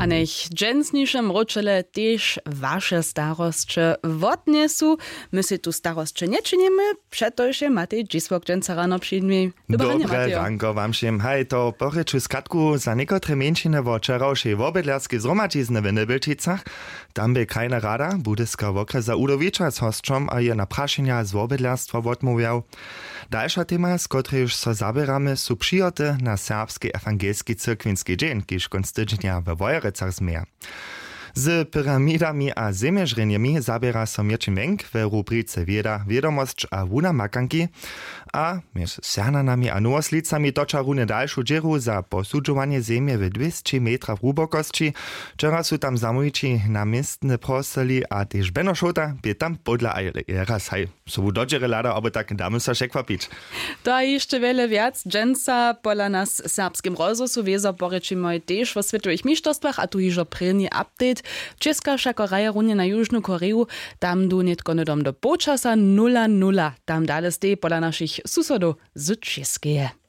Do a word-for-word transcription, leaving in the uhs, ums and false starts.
A njech dźensniše mróčele tež waše starosće wotnjesu. My sej tu starosće nječinimy, přetož je Matej Dźisłok dźensa rano při nimi. Dobre ranko wam wšěm. Haj, to po rěču skatku za někotre mjeńšiny wo wčerawšej wobydlerskej zhromadźizny w Njebjelčicach. Tam bě krajna rada Budyska wokrjesa udowića z hosćom a je na prašenja z wobydlerstwa wotmołwjał. Dalša tema, z kotrejž so zaběramy, su přihoty na serbski ewangelski cyrkwinski dźeń, kiž kónc tydźenja we Wojerecach změje. Z pyramidami a zemježrjenjemi zaběra so Měrćin Wenk we rubrice Wěda, wědomosć a wuna makanki. A mjez Sernanami a Nowoslicami toča runje dalšu dźěru za posudźowanje zemje w dwěsći metrach hłubokosći. Wčera su tam zamołwići na městne prosili a tež Beno Šołta bě tam podla a je raz haj sobu do dźěry hladał, abo tak damy so překwapić. To a hišće wjele wjac dźensa pola nas w Serbskim rozhłosu wězo porěčimoj tež wo swětowych mišterstwach, a tu hižo prěni update. Česka wšako hraje runje na Južnu Koreju. Tam du nětko hnydom do połčasa nula nula. Tam dale stej pola našich susodow z Českeje.